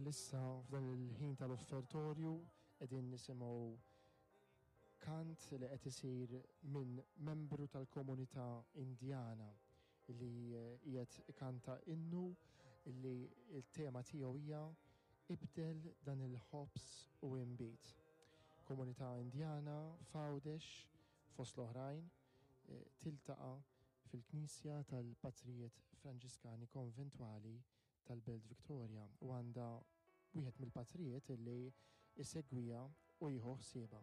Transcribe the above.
Bħalissa f'dan il-ħin tal-offertorju qegħdin nisimgħu kant li qed isir minn membru tal-komunità Indjana li qiegħed ikanta innu li l-tema tiegħu hija Ibdel dan il-ħobż u inbid. Komunità Indjana f'Għawdex fost l-oħrajn tiltaqa' fil-Knisja tal-Patrijiet Franġiskani Konventwali tal-Belt Victoria u għandha wieħed mill-patrijiet li jsegwiha u jieħu ħsiebha.